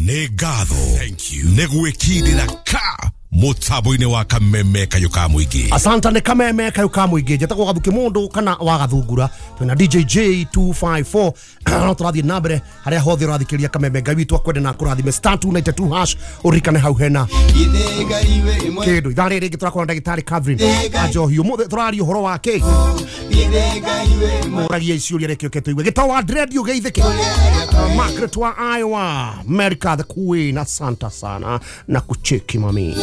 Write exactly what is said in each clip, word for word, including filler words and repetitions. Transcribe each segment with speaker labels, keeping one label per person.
Speaker 1: Nĩ ngatho nĩ gwĩkindĩra ka mũtambo-inĩ wa Kameme Kayũ ka Mũingĩ.
Speaker 2: Asante nĩ Kameme Kayũ ka Mũingĩ. Njĩtagwo Gathuki Mũndũ kana wa Gathungura. Twĩna D J J two five four. No tũrathiĩ na mbere harĩa hothe ũrathikĩrĩria Kameme. Ngai witũ akwende na akũrathime. Star two ninety two hash ũririkane hau hena kĩndũ. Ithaa rĩrĩ rĩngĩ tũrakorwo na ndagĩtarĩ Catherine Anjohi. Ũmũthĩ tũraria ũhoro wa kĩ? Mũragia ciũria reke ũke tũigue. Gĩtoo wa dread ũgeithĩke. Margaret wa Iowa, America the Queen. Asante sana na kucheki mami.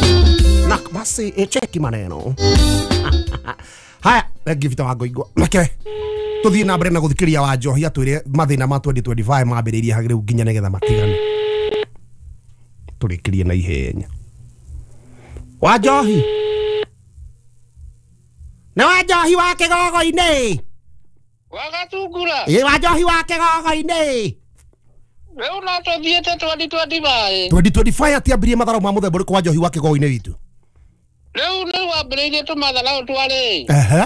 Speaker 2: Na basi e cheki maneno. Haya, ngivita wa ngoigwa. Make tuthiĩ na mbere na gũthikĩrĩria wa Njohi atwĩre mathĩna ma twenty twenty-five mambĩrĩirie hagĩrĩu nginya nĩgetha matigane. Tũrĩkĩrie na ihenya. Wa Njohi. Nĩ wa Njohi wa kĩgogo-inĩ.
Speaker 3: Wa Gatungura.
Speaker 2: Ĩ wa Njohi wa kĩgogo-inĩ.
Speaker 3: Rĩu no tũthiĩte twenty twenty-five.
Speaker 2: twenty twenty-five atiambĩrĩrie matharau ma mũthemba ũrĩkũ wa Njohi wa kĩgogo-inĩ witũ?
Speaker 3: Rĩu nĩ wambĩrĩirie tũmatharau twarĩ.
Speaker 2: Ehe.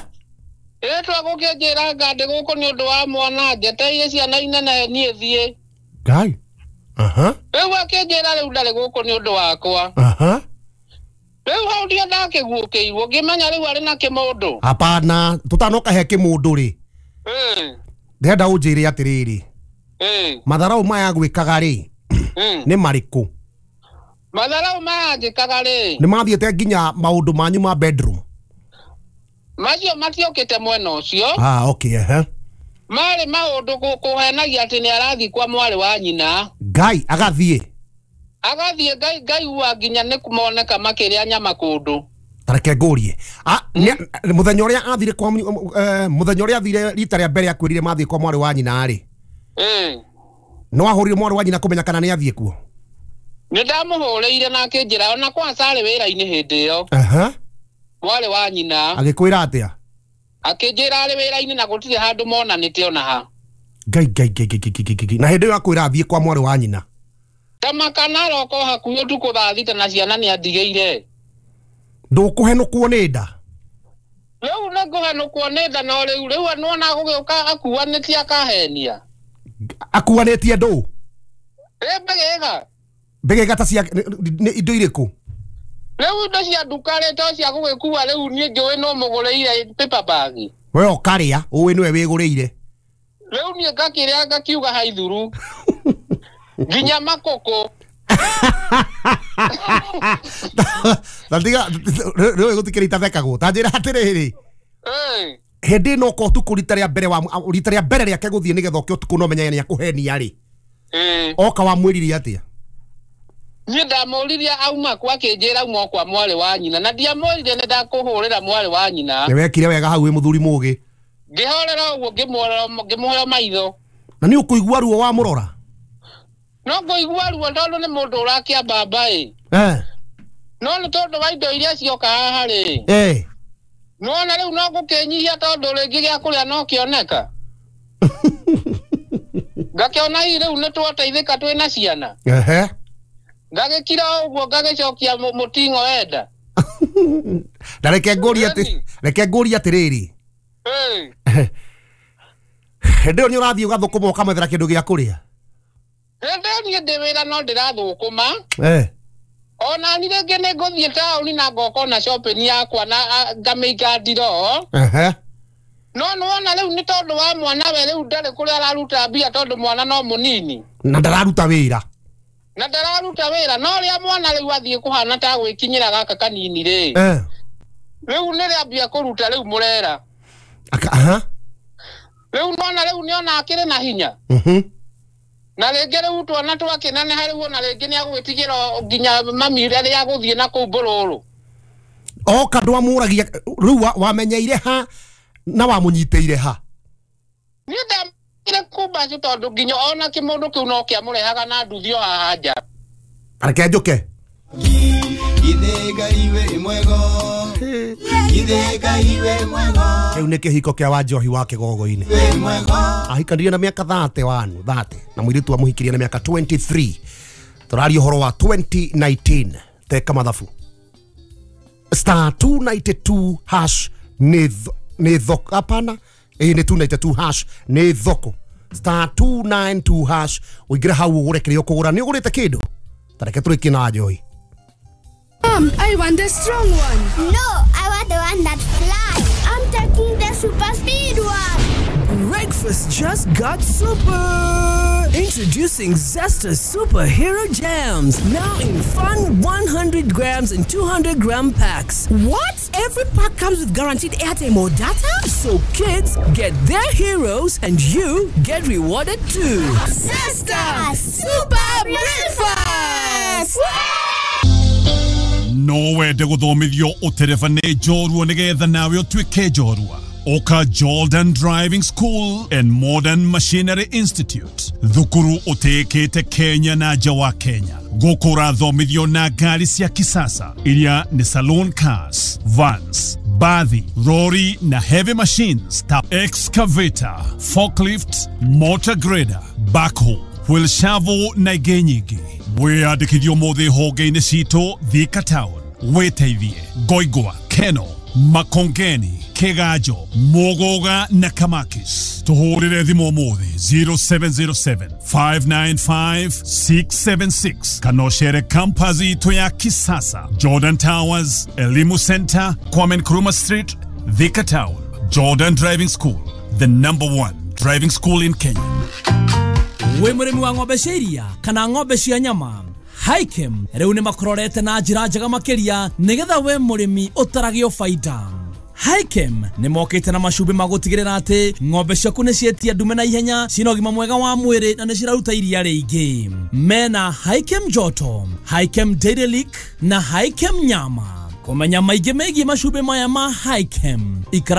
Speaker 3: Ĩ twagũkĩnjĩra ngandĩ gũkũ nĩ ũndũ wa mwana njeteire ciana inene niĩ thiĩ.
Speaker 2: Ngai. Aha.
Speaker 3: Rĩu akĩnjĩra rĩu ndarĩ gũkũ nĩ ũndũ wakwa.
Speaker 2: Aha.
Speaker 3: Rĩu hau ndio ndakĩguũkĩirwo ngĩmenya rĩu arĩ na kĩmũndũ.
Speaker 2: Hapana, tũtanoka he kĩmũndũ rĩ.
Speaker 3: Ĩ.
Speaker 2: Ndĩrenda ũnjĩre atĩrĩrĩ.
Speaker 3: Ĩ.
Speaker 2: Matharau maya gwĩkaga rĩ nĩ marĩkũ?
Speaker 3: Matharau maya njĩkaga rĩ
Speaker 2: nĩ mathiĩte nginya maũndũ manyu ma bedroom?
Speaker 3: Macio matiokĩte mwena ũcio.
Speaker 2: Ah, okay, ehe.
Speaker 3: Marĩ maũndũ kũhenagia atĩ nĩ arathiĩ kwa mwarĩ wa nyina.
Speaker 2: Ngai agathiĩ.
Speaker 3: Agathiĩ Ngai ngaigua nginya nĩ moneka makĩrĩa nyama kũndũ.
Speaker 2: Tareke ngũrie. Ah, mũthenya ũrĩa athire kwa mũthenya ũrĩa athire rita rĩa mbere akwĩrire mathiĩ kwa mwarĩ wa nyina rĩ.
Speaker 3: Ĩ.
Speaker 2: No ahũrire mwarĩ wa nyina kũmenya kana nĩ athiĩ kuo?
Speaker 3: Nĩ ndamũhũrĩire na akĩnjĩra ona kwa carĩ wĩra-inĩ hĩndĩ ĩyo.
Speaker 2: Aha.
Speaker 3: Mwarĩ wa nyina.
Speaker 2: Agĩkwĩra atĩa?
Speaker 3: Akĩnjĩra arĩ wĩra-inĩ na gũtirĩ handũ monanĩte ona ha.
Speaker 2: Ngai ngai ngai ngai ngai ngai. Na hĩndĩ ĩyo akwĩra athiĩ kwa mwarĩ wa nyina.
Speaker 3: Tamakana aroko hakuhĩ ũtukũ thaa thita na ciana nĩ andigĩire.
Speaker 2: Ndũkũhenũkwo nĩ nda?
Speaker 3: Rĩu nĩ ngũhenũkwo nĩ nda no rĩu rĩu nĩwona gũgĩũka akuanĩtie akahenia.
Speaker 2: Akuanĩtie ndũ?
Speaker 3: Ĩ mbegega.
Speaker 2: Mbegega ta cia nĩ indo irĩkũ?
Speaker 3: Rĩu indo cia nduka rĩ to cia gũgĩkua rĩu niĩ njũĩ no mũgũrĩire paper bag.
Speaker 2: We ũkarĩa ũĩ nĩwe wĩgũrĩire.
Speaker 3: Rĩu niĩ ngakĩrĩa ngakiuga haithuru. Nginya makũkũ.
Speaker 2: Na tiga rĩu gũtikĩrĩ itathekagwo. Ta njĩra atĩrĩrĩ.
Speaker 3: Ĩ.
Speaker 2: Hĩndĩ ĩno ũka ũtukũ rita rĩa mbere wa rita rĩa mbere rĩake gũthiĩ nĩgetha ũke ũtukũ no menye nĩ akũhenia rĩ.
Speaker 3: Ĩ.
Speaker 2: Oka wamwĩrire atĩa?
Speaker 3: Niĩ ndamũririe auma kwa akĩnjĩra auma kwa mwarĩ wa nyina na ndiamwĩrire nĩ ndakũhũrĩra mwarĩ wa nyina.
Speaker 2: Nĩ wekire wega hau wĩ mũthuri mũgĩ.
Speaker 3: Ngĩhorera ũguo ngĩmũheo maitho.
Speaker 2: Na nĩ ũkũigua ruo wamũrora?
Speaker 3: No ngũigua ruo tondũ nĩ mũndũ ũrakĩambamba ĩ.
Speaker 2: Eh.
Speaker 3: No nĩ tondũ wa indo iria cioka haha rĩ.
Speaker 2: Eh.
Speaker 3: Nĩwona rĩu no ngũkĩnyihia tondũ rĩngĩ gĩa kũrĩa no kĩoneka. Ngakĩona hihi rĩu nĩ twateithĩka twĩna ciana.
Speaker 2: Ehe.
Speaker 3: Ngagĩkira ũguo ngagĩcokia mũting'o enda.
Speaker 2: Na reke ngũrie atĩ reke ngũrie atĩrĩrĩ.
Speaker 3: Ĩ.
Speaker 2: Hĩndĩ ĩyo nĩ ũrathiĩ ũgathũkũma ũkamethera kĩndũ gĩa kũrĩa?
Speaker 3: Hĩndĩ ĩyo niĩ ndĩ wĩra no ndĩrathũkũma.
Speaker 2: Eh.
Speaker 3: Ona ni rĩngĩ nĩ ngũthiĩ taũni na ngoka na shopping yakwa na ngamĩiga ndiroo.
Speaker 2: Ehe.
Speaker 3: No nĩwona rĩu nĩ tondũ wa mwana we rĩu ndarĩ kũrĩa araruta mbia tondũ mwana no mũnini.
Speaker 2: Na ndararuta wĩra.
Speaker 3: Na ndararuta wĩra no rĩa mwana rĩu athiĩ kũhana ta gwĩkinyĩra gaka kanini rĩ.
Speaker 2: Eh.
Speaker 3: Rĩu nĩ rĩambia kũruta rĩu mũrera.
Speaker 2: Aka aha.
Speaker 3: Rĩu nona rĩu nĩona akĩrĩ na hinya.
Speaker 2: Mhm.
Speaker 3: Na rĩngĩ rĩu twana twakĩneneha rĩu ona rĩngĩ nĩagwĩtigĩra nginya mami rĩrĩa agũthiĩ na kũu mbũrũrũ.
Speaker 2: Oka ndwamũragia rĩu wamenyeire ha na wamũnyitĩire ha?
Speaker 3: Niĩ ndamire kumbacu tondũ nginya ona kĩmũndũ kĩu no kĩamũrehaga na nduthi o haha nja.
Speaker 2: Reke njũke. Rĩu nĩ kĩhiko kĩa wa Njohi wa kĩgogo-inĩ. Ahikanirie na mĩaka thirty-one, thirty na mũirĩtu amũhikirie na mĩaka twenty-three. Tũraria ũhoro wa twenty nineteen. Teka mathabu. Star two ninety-two hash nĩ nĩ thoko. Hapana, ĩ nĩ two ninety-two hash nĩ thoko. Star two nine two hash ũingĩre hau ũgũre kĩrĩa ũkũgũra. Nĩ ũgũrĩte kĩndũ? Tareke tũrĩkie na Joy.
Speaker 4: Mom, I want the strong one.
Speaker 5: No, I want the one that flies. I'm taking the super speed one.
Speaker 6: Breakfast just got super! Introducing Zesta Superhero Jams, now in fun one hundred grams and two hundred gram packs.
Speaker 7: What? Every pack comes with guaranteed airtime or data?
Speaker 6: So kids get their heroes and you get rewarded too.
Speaker 7: Zesta Super Breakfast!
Speaker 1: No wende guthomithio utereba nĩ njorua nĩgetha nawe ũtuĩke njorua. Oka Jordan Driving School and Modern Machinery Institute, thukuru ũtĩĩkĩte Kenya na nja wa Kenya. Gũkũ ũrathomithio na ngari cia kisasa iria nĩ saloon cars, vans, bathi, lorry na heavy machines ta excavator, forklift, motor grader, backhoe, wheel shovel na ingĩ nyingĩ. Wĩyandĩkithio ũmũthĩ honge-inĩ citũ Thika Town, wĩteithie Ngoingwa, Keno, Makongeni, Kiganjo, Muguga na Kamakis. Tuhurire thimu umuthi zero seven zero seven, five nine five, six seven six kana ũcere campus itũ ya kisasa, Jordan Towers, Elimu Center, Kwame Nkrumah Street, Thika Town. Jordan Driving School, the number one driving school in Kenya.
Speaker 8: Wĩ mũrĩmi wa ng'ombe cia iria kana ng'ombe cia nyama, Hikem rĩu nĩ makororete na njĩra njega makĩria nĩgetha we mũrĩmi ũtaragio baida. Hikem nĩ mokĩte na macumbĩ ma gũtigĩrĩra atĩ ng'ombe ciaku nĩ ciĩtia ndume na ihenya, ciĩna ũgima mwega wa mwĩrĩ na nĩ ciraruta iria rĩingĩ. Mena Hikem Joto, Hikem Dairy Lick na Hikem Nyama. Kũmenya maingĩ megiĩ macumbĩ maya ma Hikem, ikara